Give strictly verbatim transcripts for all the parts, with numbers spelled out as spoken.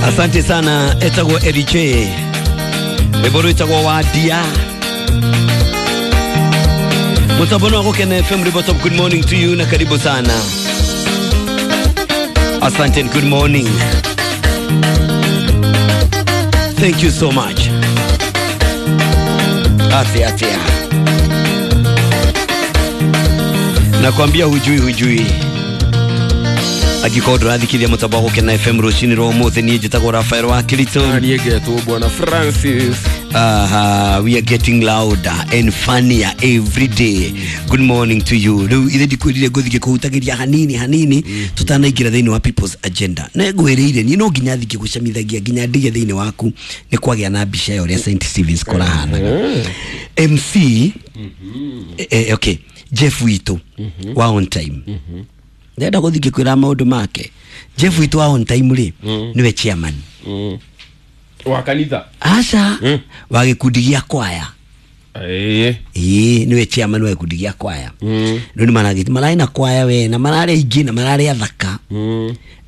Asante sana etagwo Eriche rwĩmbo rwĩtagwo Wadia Mutambono wa Gukena F M River Top. Good morning to you na karibu sana. Asante and good morning. Thank you so much. Atia atia. Nakwambia hujui hujui. Agikorwo ndũrathikiria mũtambo wa Gukena F M rũcinĩ rwa ũmũthĩ, niĩ njĩtagwo Rafael wa Kirito. Niĩ ngetwo Bwana Francis. Aha, we are getting louder and funnier every day. Good morning to you. Rĩu ithe ndikwĩrire ngũthiĩ kũhutagĩria hanini hanini tutanaingĩra thĩinĩ wa People's Agenda. Na ngwĩrĩire niĩ no nginya thiĩ gũcamithagia nginya ndige thĩinĩ waku nĩ kwagĩa na mbica ya ũrĩa Saint Stevens kũrahanaga. M C eh, okay, Jeff witũ wa on time. Ndenda gũthiĩ kwĩra maũndũ make. Jeff witũ wa on time rĩ nĩwe chairman wa kanitha. Aca wa gĩkundi gĩa kwaya. Ĩĩ. Ĩĩ nĩwe chairman wa gĩkundi gĩa kwaya. Rĩu nĩ maragĩti mararĩ na kwaya we na mararĩ aingĩ na mararĩ athaka.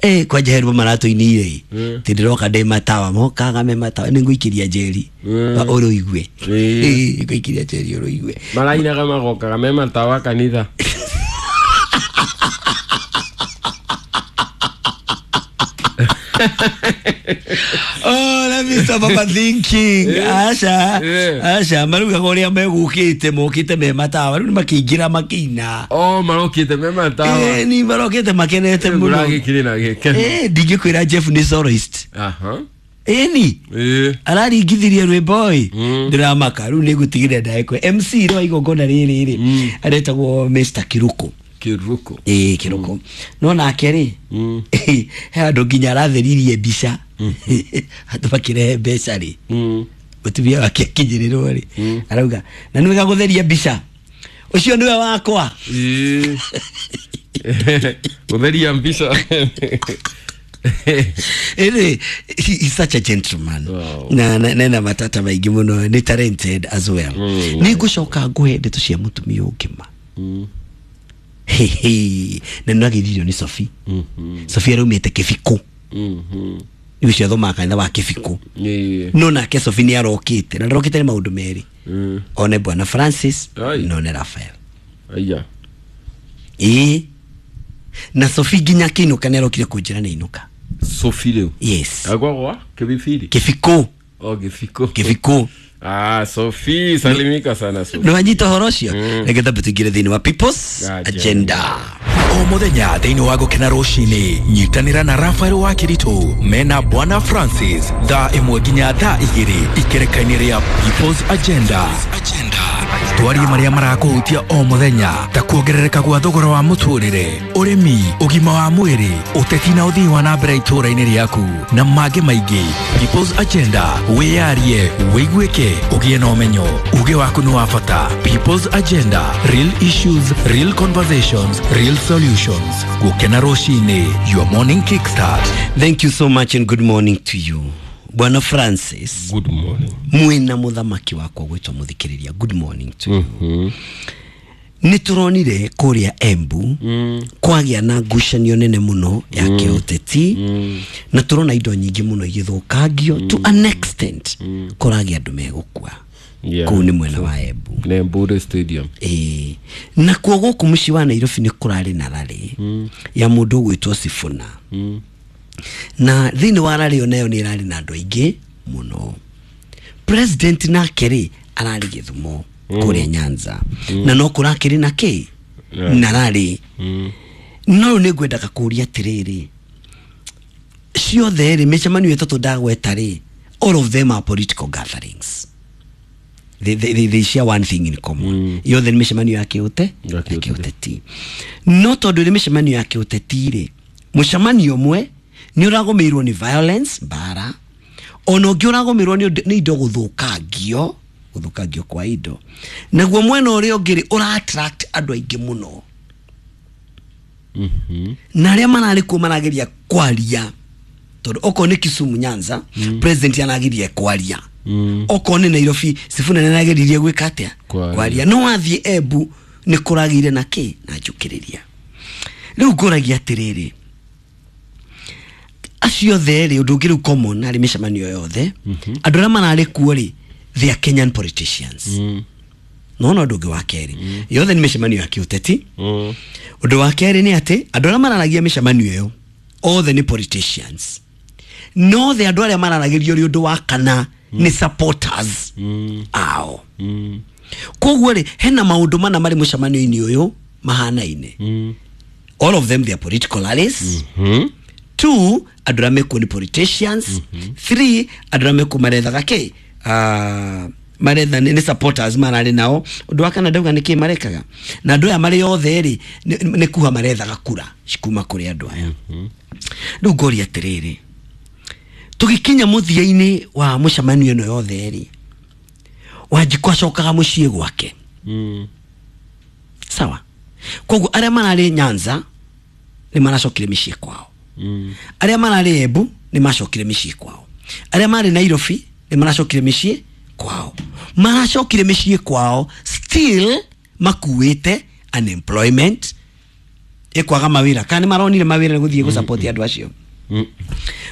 Eh kwanja he rwĩmbo maratũinĩire ĩ ndĩroka ndĩ matawa mokaga me matawa nĩ ngũikĩria njeri ũrũigue. Ĩĩ ngũikĩria njeri ũrũigue. Marainaga magokaga me matawa kanitha. Oh, let me stop overthinking. Asha, Asha, maruga goria megukite mokite me matawa riu makiingira makina. Oh, marokite me matawa. Eh, ni marokite makenete muno. Muragikire na gikeno. Eh, ndingikwira Jeff ni soloist. Aha. Eni. Eh. Araringithirie rwimbo ĩ. Ndiramaka riu nĩngũtigire ndagĩkwe. M C rwa igongona rĩrĩ rĩ aretagwo Mister Kiruko. Kiruko. Eh, Kiruko. No nake rĩ he handũ nginya aratheririe mbica. Andũ makĩrehe mbeca rĩ mũtumia wake akinyĩrĩrwo rĩ arauga na nĩ wega gũtheria mbica ũcio nĩwe wakwa. Gũtheria mbica. Anyway, he is such a gentleman. Wow. Na na na matata maingĩ mũno, nĩ talented as well. Nĩ ngũcoka ngũhe ndeto cia mũtumia ũngĩ ma. Hehe, na nĩragĩthirio nĩ Sophie. Sophie araumĩte Kĩbikũ. Nĩ ũcio athomaga kanitha wa Kĩbikũ. No nake Sophie nĩ arokĩte na ndarokĩte nĩ maũndũ merĩ. One Bwana Francis na one Rafael. Aya. Ĩĩ. Na Sophie nginya akĩinũka nĩ arokire kũnjĩra nĩ ainũka. Sophie rĩu? Yes. Agwa Kĩbibiri? Kĩbikũ. Oh, Kĩbikũ. Kĩbikũ. Ah, Sophie, salimika sana Sophie. Nĩ wanyita ũhoro ũcio? Reke tambe tũingĩre thĩinĩ wa People's Agenda. O mũthenya thĩinĩ wa Gukena rũcinĩ nyitanĩra na Rafael wa Kirito mena Bwana Francis thaa ĩmwe nginya thaa igĩrĩ ikereka-inĩ rĩa People's Agenda. Twarie marĩa marakũhutia o mũthenya ta kuongerereka gwa thogora wa mũtũrĩre, ũrĩmi, ũgima wa mwĩrĩ, ũteti na ũthii wa na mbere itũũra-inĩ rĩaku na mangĩ maingĩ. People's Agenda, wĩyarie, wĩiguĩke, ũgĩe na ũmenyo, uge waku nĩ wa bata. People's Agenda, real issues, real conversations, real solutions. Gukena rũcinĩ, your morning kickstart. Thank you so much and good morning to you. Bwana Francis. Good morning. Mwina muthamaki wakwa gwitwo muthikiriria. Good morning to you. Mm-hmm. Nĩ tũronire kũrĩa Embu mm. kwagĩa na ngucanio nene mũno ya mm. kĩũteti mm. na tũrona indo nyingĩ mũno igĩthũkangio mm. to an extent mm. kũragĩa andũ megũkua. Yeah. Kũu nĩ mwena wa Embu. Nĩ Embu Stadium. Ĩĩ. Na kuo gũkũ mũciĩ wa Nairobi nĩ kũrarĩ na rarĩ mm. ya mũndũ ũgwĩtwo Sifuna. Mm. Na thĩinĩ wa rarĩ onayo nĩ ĩrarĩ na andũ aingĩ mũno. President nake rĩ ararĩ Gĩthumo mm. kũrĩa Nyanza mm. na no kũrakĩrĩ na kĩ yeah. na rarĩ mm. no nĩ ngwendaga kũũria atĩrĩrĩ, ciothe rĩ mĩcemanio ĩtatũ ndagweta rĩ, all of them are political gatherings. They, they, they, they share one thing in common. Mm. Yothe nĩ mĩcemanio ya kĩũte ya ya kĩũteti. No tondũ nĩ mĩcemanio ya kĩũteti rĩ, mũcemanio ũmwe nĩ ũragũmĩirwo nĩ violence mbara, ona ũngĩ ũragũmĩirwo nĩ indo gũthũkangio, gũthũkangio kwa indo, naguo mwena ũrĩa ũngĩ rĩ ũra attract andũ aingĩ mũno. Mm-hmm. Na arĩa mararĩ kuo marageria kwaria, tondũ okorwo nĩ Kisumu Nyanza mm. president anageria kwaria. Mm. Okorwo nĩ Nairobi Sifuna nĩarageririe gwĩka atĩa? Kwaria. No wathiĩ Embu nĩ kũragĩire na kĩ na njũkĩrĩria. Rĩu ngũragia atĩrĩrĩ, Acio othe rĩ, ũndũ ũngĩ rĩu common harĩ mĩcemanio yothe, andũ arĩa mararĩ kuo rĩ, they are Kenyan politicians. No no ũndũ ũngĩ wa kerĩ, yothe nĩ mĩcemanio ya kĩũteti. Mm. Ũndũ wa kerĩ nĩ atĩ andũ arĩa mararagia mĩcemanio ĩyo othe nĩ politicians, no the andũ arĩa mararagĩrio rĩ, ũndũ wa kana nĩ supporters ao. Mm. Koguo rĩ, hena maũndũ mana marĩ mũcemanio-inĩ ũyũ mahanaine. Mm. All of them, they are political rallies. Mm. Two, andũ arĩa mekuo nĩ politicians. Three, andũ arĩa mekuo marethaga kĩ, uh, maretha nĩ nĩ supporters mararĩ nao. Ũndũ wa kana ndauga nĩ kĩ marekaga, na andũ aya marĩ othe rĩ, nĩ nĩ kuha marethaga kura kuma kũrĩ andũ aya. Rĩu ngoria atĩrĩrĩ, tũgĩkinya mũthia-inĩ wa mũcemanio ĩno yothe rĩ, Wanjikũ acokaga mũciĩ gwake. Mm. Sawa, koguo arĩa mararĩ Nyanza nĩ maracokire mĩciĩ kwao. Mm. Arĩa mararĩ Embu nĩ macokire mĩciĩ kwao. Arĩa marĩ Nairobi nĩ maracokire mĩciĩ kwao. Maracokire mĩciĩ kwao still makuĩte unemployment, ĩkwaga mawĩra, kana nĩ maronire mawĩra nĩ gũthiĩ gũsupport andũ acio. Mm.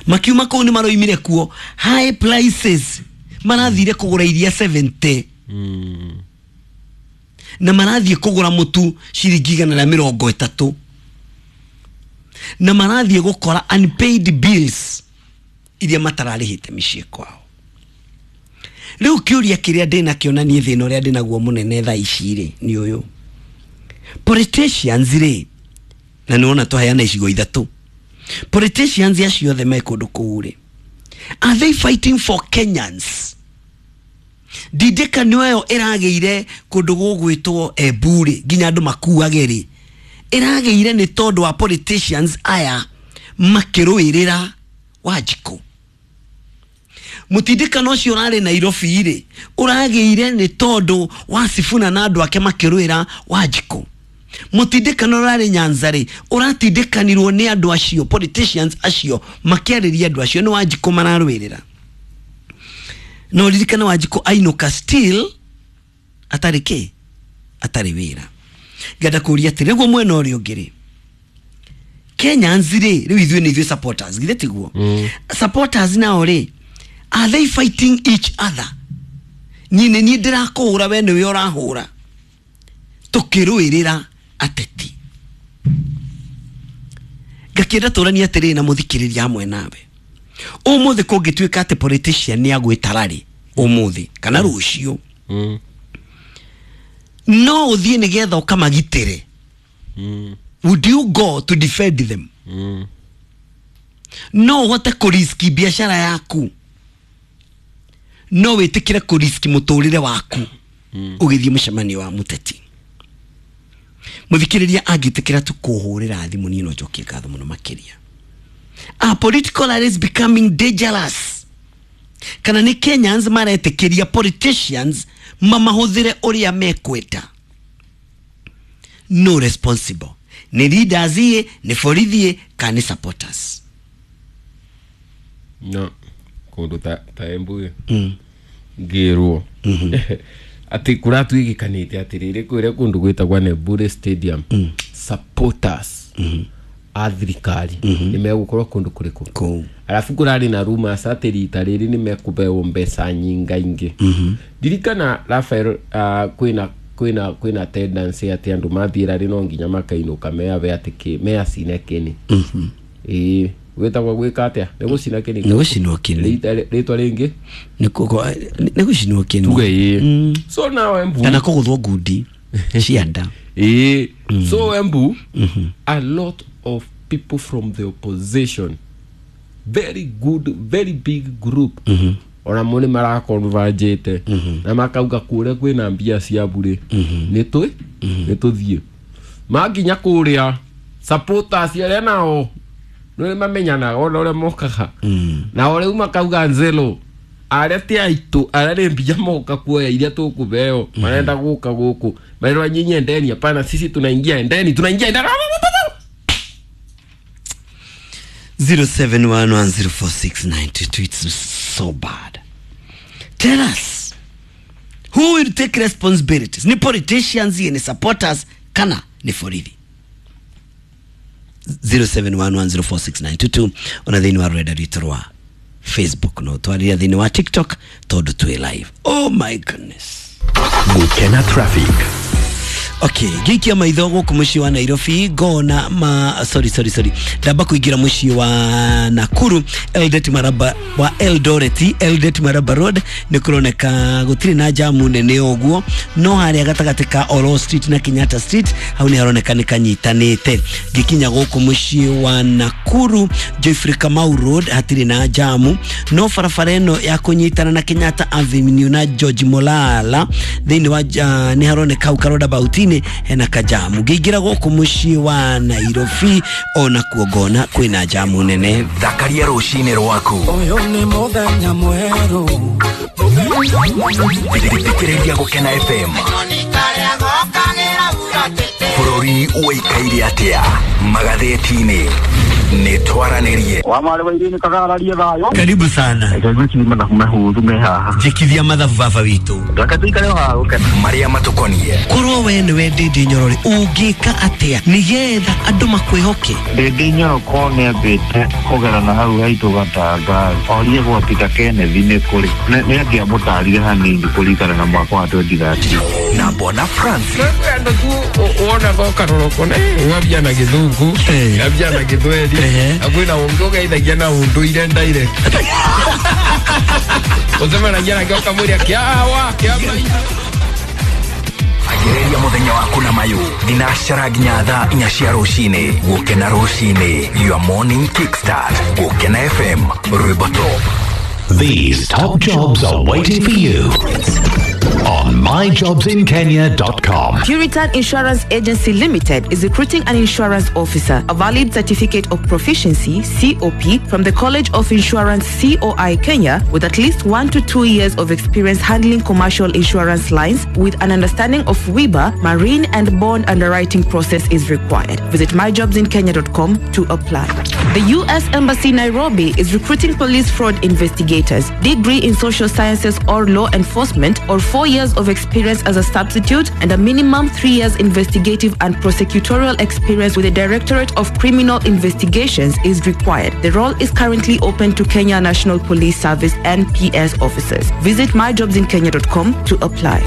Makiuma kũu nĩ maroimire kuo high prices, marathire kũgũra iria seventy Mm. na marathiĩ kũgũra mũtu ciringi igana rĩa mĩrongo ĩtatũ, na marathiĩ gũkora unpaid bills iria matararĩhĩte mĩciĩ kwao. Rĩu kĩũria kĩrĩa ndĩnakĩo na niĩ thĩna ũrĩa ndĩnaguo mũnene thaa ici rĩ nĩ ũyũ: politicians rĩ, na nĩwona twaheana icigo ithatũ, politicians acio othe me kũndũ kũu rĩ, are they fighting for Kenyans? Ndindĩkano ĩyo ĩragĩire kũndũ gũgwĩtwo Embu rĩ, nginya andũ makuage rĩ, ĩragĩire nĩ tondũ wa politicians aya makĩrũĩrĩra Wanjikũ? Mũtindĩkano ũcio ũrarĩ Nairobi rĩ, ũragĩire nĩ tondũ wa Sifuna na andũ ake makĩrũĩra Wanjikũ? Mũtindĩkano ũrarĩ Nyanza rĩ, ũratindĩkanirwo nĩ andũ acio, politicians acio makĩarĩria andũ acio, nĩ Wanjikũ mararũĩrĩra? No ririkana Wanjikũ ainũka still atarĩ kĩ, atarĩ wĩra. Ngenda kũria atĩ nĩguo mwena ũrĩa ũngĩ rĩ, Kenyans rĩ, rĩu ithuĩ nĩ ithuĩ supporters, githĩ tiguo? Mm. Supporters nao rĩ, are they fighting each other? Niĩ nĩ niĩ ndĩrakũhũra, we nĩwe ũrahũra, tũkĩrũĩrĩra ateti. Ngakĩenda tũranie atĩrĩrĩ na mũthikĩrĩria hamwe nawe, ũmũthĩ kũngĩtuĩka atĩ politician nĩ agwĩta rally ũmũthĩ kana rũciũ, Mm. no ũthiĩ nĩgetha ũkamagitĩre? Mm. Would you go to defend them? Mm. No ũhote kũriski biacara yaku? No wĩtĩkĩre kũriski mũtũrĩre waku ũgĩthiĩ mũcemanio wa mũteti? Mũthikĩrĩria angĩtĩkĩra tu kũhũrĩra thimũ, niĩ no njokie ngatho mũno makĩria. Are political rallies becoming dangerous, kana nĩ Kenyans maretĩkĩria politicians mamahũthĩre ũrĩa mekwenda? No responsible nĩ leaders ĩ, nĩ borithi, kana nĩ supporters? No kũndũ ta ta Embu ĩ, mm. ngĩrwo atĩ kũratuĩkĩkanĩte atĩrĩrĩ, kwĩrĩa kũndũ gwĩtagwo Nembure Stadium, supporters a thirikari nĩ megũkorwo kũndũ kũrĩkũ? Kũu. Arabu kũrarĩ na rumors atĩ rita rĩrĩ nĩ mekũbeo mbeca nyingaingĩ. Ndirikana Rafael, uh, kwĩna kwĩna kwĩna tendency atĩ andũ mathiĩ rarĩ no nginya makainũka meabe atĩ kĩ meacine kĩni. Ĩĩ, gwĩtagwo gwĩka atĩa, nĩ gũcina kĩni? Nĩ gũcinwo kĩni. Rĩta- rĩtwa rĩngĩ? Nĩ kũ- nĩ gũcinwo kĩni. Tuge ĩĩ. So now Embu, kana kũgũthwo ngundi cia nda. Ĩĩ, so Embu, a lot of people from the opposition, very good, very big group, ona mo nĩ maraconvergĩte na makauga kũrĩa kwĩna mbia cia mbure, nĩ twĩ nĩ tũthiĩ. Makinya kũrĩa, supporters arĩa nao nĩ mamenyanaga ona ũrĩa mokaga nao rĩu makauga nzelo arĩa ti aitũ, arĩa nĩ mbia moka kuoya iria tũkũbeo, marenda gũka gũkũ marerwa, "Nyinyi endeni, hapana, sisi tunaingia, endeni, tunaingia, endeni." zero seven one one zero four six nine two two. It's so bad. Tell us who will take responsibilities: ni politicians, ni supporters, kana ni borithi? zero seven one one zero four six nine two two ona thĩinĩ wa rũrenda rwitũ rwa Facebook no twarĩria thĩinĩ wa TikTok tondũ twĩ live. Oh my goodness. Gukena traffic. Okay, ngĩikia maitho gũkũ mũciĩ wa Nairobi ngona ma sorry sorry sorry ndamba kũingĩra mũciĩ wa Nakuru Eldoret Maraba wa Eldoret Eldoret Maraba Road nĩ kũroneka gũtirĩ na jamu nene ũguo, no harĩa gatagatĩ ka Oro Street na Kenyatta Street hau nĩ haroneka nĩ kanyitanĩte. Ngĩkinya gũkũ mũciĩ wa Nakuru Geoffrey Kamau Road hatirĩ na jamu, no barabara ĩno ya kũnyitana na Kenyatta Avenue na George Molala thĩinĩ wa uh, nĩ haroneka hau karodabautini hena kajamu. Ngĩingĩra gũkũ mũciĩ wa Nairobi ona kuo ngona kwĩna jamu nene. Thakaria rũcinĩ rwaku. Ũyũ nĩ mũthenya mwerũ. Thikĩrĩria Gũkena F M. Bũrũri ũikaire atĩa magathĩti-inĩ nĩ twaranĩrie. Wa marĩ wa irini kagararie thayũ. Karibu sana. Reke mathabu mahũthũ me haha. Njĩkithia mathabu baba witũ. Reke tũikare o haha Gũkena. Marĩa matũkonie. Korwo we nĩwe Ndĩndĩ Nyorore ũngĩka atĩa nĩgetha andũ makwĩhoke? Ndĩndĩ Nyoro korwo nĩambĩte kũgerana hau haitũ Gatanga orie gwa Peter Kenneth nĩ kũrĩ. Nĩ angĩamũtarire hanini kũringana na mwaka wa twenty thirteen. Na Bwana Francis. Andũ tu wonaga ũkarora ũkona ng'ambia na Gĩthũngũ, ng'ambia na Gĩthweri, na kwĩna ũngĩ ũgeithagia na ũndũire direct. Ũcemanagia nake ũkamwĩra kĩawa, kĩama. Agĩrĩria mũthenya waku na mayũ thinacara nginya thaa inya cia rũcinĩ. Gũkena rũcinĩ, your morning kickstart. Gũkena F M, rwĩmbo top. These top jobs are waiting for you on my jobs in kenya dot com. Puritan Insurance Agency Limited is recruiting an insurance officer, a valid certificate of proficiency, C O P, from the College of Insurance, C O I Kenya, with at least one to two years of experience handling commercial insurance lines with an understanding of W I B A, marine and bond underwriting process is required. Visit my jobs in kenya dot com to apply. The U S Embassy Nairobi is recruiting police fraud investigators, degree in social sciences or law enforcement, or four years of experience as a substitute and a minimum three years investigative and prosecutorial experience with the Directorate of Criminal Investigations is required. The role is currently open to Kenya National Police Service N P S officers. Visit my jobs in kenya dot com to apply.